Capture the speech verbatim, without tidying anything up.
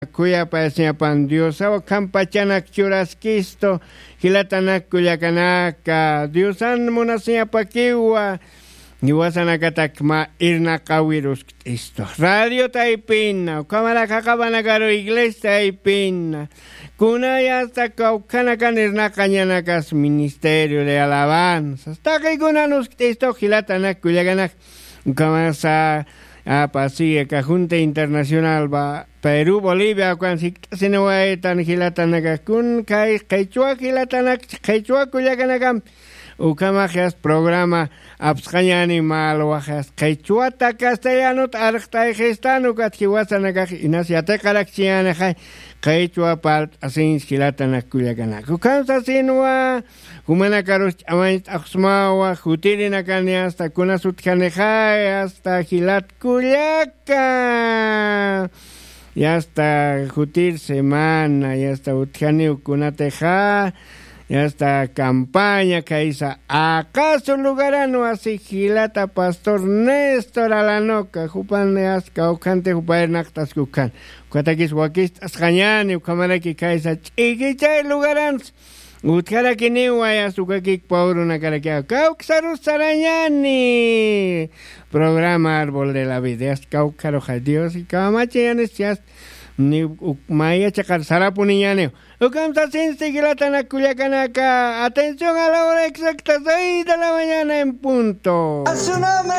Khuyapayasiñapan diosawa khampachanak churaskistu. Jilatanak kullakanaka diosan munasiñapakiwa. Jiwasanakatak mä irnaqawiruskt'istu radiota aypina ukhamarak jaqapanakaru iglesia aypina. Kunay asta kawkhanakan irnaqañanakas ministerio de alabanzas taqikunan uskt'istu jilatanak kullakanak. Ukhamasa apasiya kajunta internacional va perú bolivia ukan sikt'asiniwaytan jilatanakakkun kay qhichwa jilatanak qhichwa kullakanakampi. Ukhamaxyas programa apsqañani malwaxyas qhichwata castellanot arqt'ayxistan ukat jiwasanakax inas yatiqarakchiñanixay. Qhichwa parlt'asinch jilatanak kullakanak ukham sasinwa. Jumanakarus ch'amañt'axsmawa jutirinakan yasta kunas utjanixay asta jilat kullaka. Yasta jutir semana yasta utjaniw kunatixa. Yasta campaña khaysa aqasu lugaranwa si jilata pastor néstor alanoka jupan yasta kawkhantix jupa irnaqt'askukhan. Ukhatakis wakist'asqañani ukhamaraki khaysa ch'ikichay lugaransa. Utjarakiniwa yasta ukakik pawrunakarakiwa kawksarus sarañani. Programa árbol de la vida yasta kawkharuxa dios kamachañanis yasta ni uk- maya chiqar sarapuniñaniw. Ukham sasinsti jilatanak kullakanaka atención a la hora exacta seis de la mañana en punto. A su nombre.